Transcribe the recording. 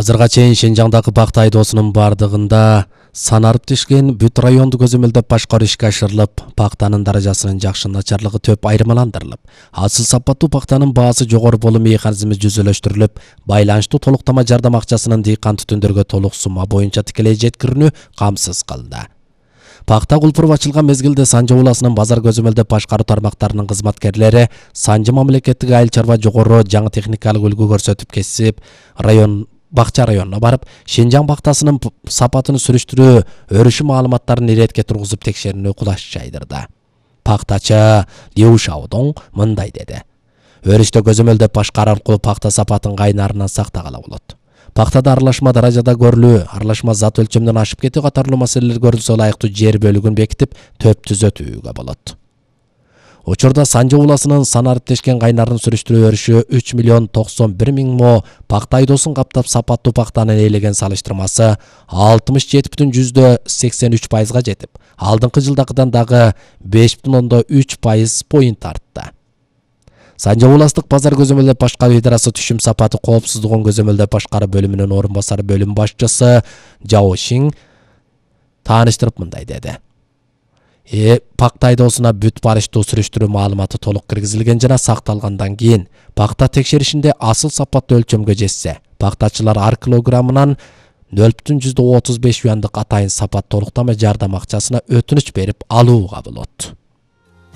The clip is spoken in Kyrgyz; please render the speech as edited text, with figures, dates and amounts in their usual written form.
Азырга чейин Шенжаңдагы пакта айдоосунун бардыгында санарып тишкен бүт районду көзөмөлдөп башкаруу ишке ашырылып, пактанын даражасынын жакшы начарлыгы төп айырмаландырылып, асыл сапаттуу пактанын баасы жогору болуу механизми жүзөлөштүрүлүп, байланыштуу толуктама жардам акчасынын дыйкан түтүндөргө толук сумма боюнча тикелей жеткирүүнү камсыз кылды. Пакта кулпуруп ачылган мезгилде Санжы ууласынын базар көзөмөлдөп башкаруу тармактарынын кызматкерлери Санжы мамлекеттик айыл чарба жогору жаңы техникалык үлгү көрсөтүп кесип, Бакча районуна барып, Шенжаң пактасынын сапатын сүрүштүрүү, өрүшү маалыматтарын иретке тургузуп текшерүүнү кулаш жайдырды. Пактачы Liu Shaodong мындай деди: Өрүштө көзөмөлдөп башкаруу аркылуу пакта сапатын кайнарынан сактагала болот. Пактада аралашма даражада көрүлүү, аралашма зат өлчөмдөн ашып кетүү катарлуу маселелер көрүлсө ылайыктуу жер бөлүгүн бекитип, төп түзөтүүгө болот. Учурда Санжы ууласынын санарып тешкен кайнарын сүрүштүрүү өрүшү 3 миллион 91 миң мо пакта айдоосун каптап сапаттуу пактаны ээлеген салыштырмасы 67,83%га жетип, алдыңкы жылдакыдан дагы 5,3% поинт артты. Санжы ууластык базар көзөмөлдөп башкаруу идарасы түшүм сапаты коопсуздугун көзөмөлдөп башкаруу бөлүмүнүн орун басары бөлүм башчысы Жао Шин тааныштырып мындай деди: Пакта айдоосуна бүт барыштуу сүрүштүрүү маалыматы толук киргизилген жана сакталгандан кийин пакта текшеришинде асыл сапаттуу өлчөмгө жетсе, пактачылар ар килограммынан 0,35 юандык атайын сапат толуктама жардам акчасына өтүнүч берип алууга болот.